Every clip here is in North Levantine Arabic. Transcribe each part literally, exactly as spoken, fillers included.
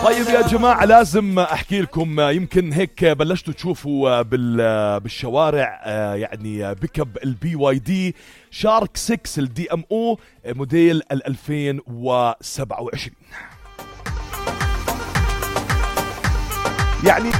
طيب يا جماعة لازم أحكي لكم، يمكن هيك بلشتوا تشوفوا بالشوارع يعني بيكب البي واي دي شارك ستة الدي ام او موديل ألفين وسبعة وعشرين. يعني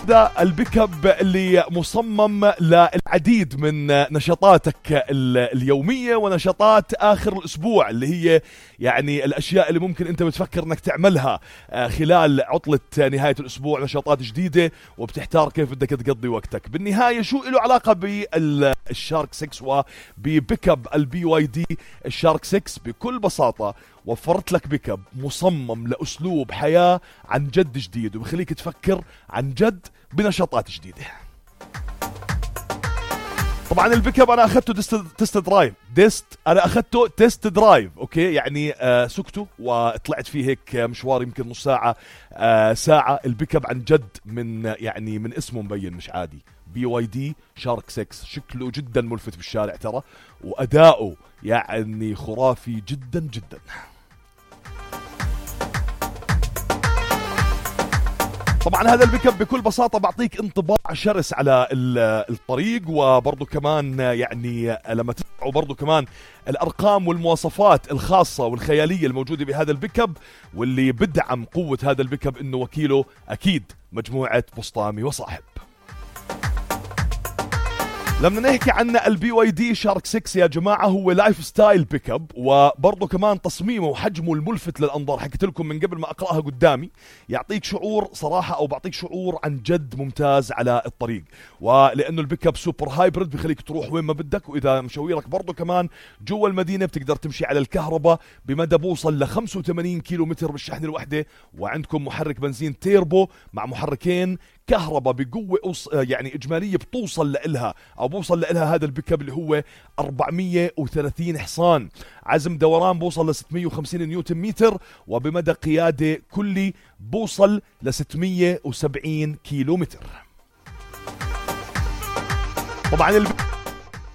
هذا البيكب اللي مصمم للعديد من نشاطاتك اليومية ونشاطات آخر الأسبوع، اللي هي يعني الأشياء اللي ممكن أنت بتفكر أنك تعملها خلال عطلة نهاية الأسبوع، نشاطات جديدة وبتحتار كيف بدك تقضي وقتك. بالنهاية شو له علاقة بالشارك ستة وببيكب البي واي دي الشارك ستة؟ بكل بساطة وفرت لك بيكب مصمم لأسلوب حياة عن جد جديد، وبخليك تفكر عن جد بنشاطات جديدة. طبعا البيكب انا اخذته تست, تست درايف ديست انا اخذته تست درايف اوكي، يعني آه سكته وطلعت فيه هيك مشوار يمكن نص ساعة آه ساعة. البيكب عن جد من يعني من اسمه مبين مش عادي، بي واي دي شارك ستة، شكله جدا ملفت بالشارع ترى، واداؤه يعني خرافي جدا جدا. طبعا هذا البيكب بكل بساطة بعطيك انطباع شرس على الطريق، وبرضو كمان يعني لما تسمعوا برضو كمان الأرقام والمواصفات الخاصة والخيالية الموجودة بهذا البيكب، واللي بدعم قوة هذا البيكب انه وكيله اكيد مجموعة بسطامي وصاحب. لما نحكي عن البي واي دي شارك ستة يا جماعة، هو لايف ستايل بيكب، وبرضه كمان تصميمه وحجمه الملفت للأنظار، حكيت لكم من قبل ما أقرأها قدامي، يعطيك شعور صراحة أو بعطيك شعور عن جد ممتاز على الطريق. ولأنه البيكب سوبر هايبرد بخليك تروح وين ما بدك، وإذا مشاويرك برضه كمان جوا المدينة بتقدر تمشي على الكهرباء بمدى بوصل ل خمسة وثمانين كيلو متر بالشحنة الوحدة، وعندكم محرك بنزين تيربو مع محركين كهرباء بقوة أوص... يعني إجمالية بتوصل لإلها أو بوصل لإلها هذا البيكب اللي هو أربعمية وثلاثين حصان، عزم دوران بوصل ل ستمية وخمسين نيوتن متر، وبمدى قيادة كلي بوصل ل ستمية وسبعين كيلو متر. طبعا البيكب